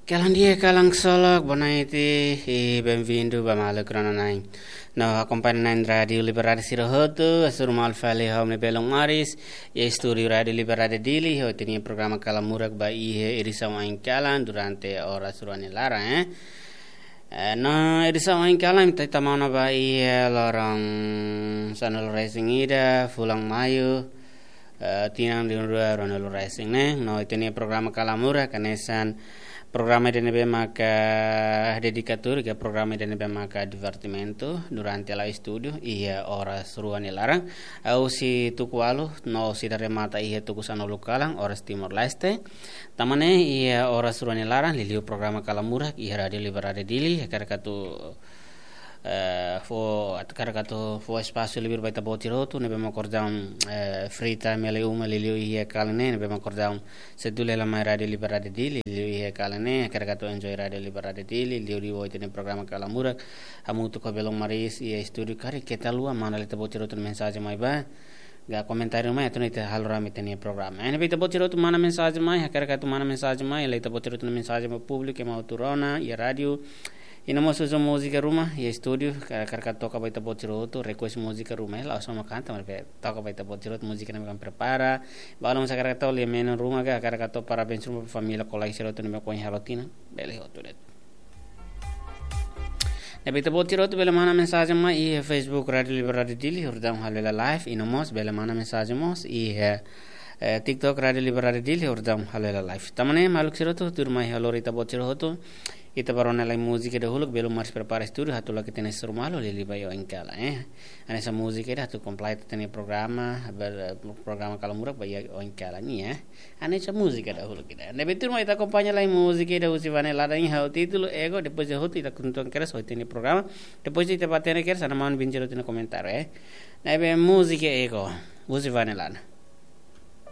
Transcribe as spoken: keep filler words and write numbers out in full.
Kalan di'ak, kalan ksolok, boa noite, i benvindu ba maluk rona-na'in. No akompaña na'in Rádiu Liberdade sira hotu, hasoru malu fali ha'u-nia belun Maris, iha estúdiu Rádiu Liberdade Dili, hodi ita-nia programa Kalamurak ba iha edisaun oin kalan durante oras rua nia laran, eh. Eh, no edisaun oin kalan ita tama ona ba iha loron sanulu-resin-ida, fulan Maiu, eh, tinan rihun rua ruanulu-resin ne'e. No ita-nia programa Kalamurak hanesan programa ida ne'ebé maka dedikatóriu, ka programa ida ne'ebé maka divertimentu durante la'o estúdiu iha oras rua nia laran. Husi tuku ualu no sei remata iha tuku sanulu kalan, oras Timor-Leste. Tama ne'e iha oras rua nia laran, liuliu programa Kalamurak iha Rádiu Liberdade Dili, hakarak atu, eh, fó, hakarak atu fó espasu liur ba ita-boot sira hotu ne'ebé mak orsida, eh, free time iha uma, liuliu iha kalan ne'e, ne'ebé mak orsida sei duni hela mai Rádiu Liberdade Dili, liuliu iha kalan ne'e, hakarak atu enjoy Rádiu Liberdade Dili, liuliu ho ita-nia programa Kalamurak, hamutuk ho belun Maris iha estúdiu karik keta haluha, manda lai ita-boot sira hotu nia mensajen mai ba, ka komentáriu mai, atu nune'e ita halo rame ita-nia programa. Ne'ebé ita-boot sira hotu manda mensajen mai, hakarak atu manda mensajen mai, lai ita-boot sira hotu nia mensajen ba públiku ema hotu rona iha rádiu. I no mós uza múzika ruma iha estúdiu, ka-, hakarak atu toka ba ita-boot sira hotu, request múzika ruma, eh, la'ós só mak kanta, maibé toka ba ita-boot sira hotu múzika ne'ebé mak prepara. Balu mós hakarak atu lia menu ruma ka, hakarak atu parabéns ruma ba família, kolega sira hotu ne'ebé mak ohin halo tinan, bele hotu de'it. Ne'ebé ita-boot sira hotu bele manda mensajen mai iha Facebook Rádiu Liberdade Dili, horidaun halo hela live, i no mós bele manda mensajen mós iha, eh, TikTok Rádiu Liberdade Dili, horidaun halo hela live. Tama ne'e maluk sira hotu, tuirmai ha'u lori ita-boot sira hotu, ita bá rona lai múzika dahuluk, belun Maris prepara estúdiu, hatudu lagi tene seru malu, liuliu ba iha oin kalan, eh. Hanesan múzika ida atu kompleta ita-nia programa, ber-, programa Kalamurak ba iha oin kalan ne'e, eh. Hanesan múzika dahuluk ida. Ne'ebé tuirmai ita akompaña lai múzika ida husi Vane Ladan, ha'u títulu Ego, depois de hotu ita kontinua kedas ho ita-nia programa. Depois ita bá hatene kedas, ana maun bin jero ita-nia komentáriu, eh. Ne'ebé múzika Ego, husi Vane Ladan.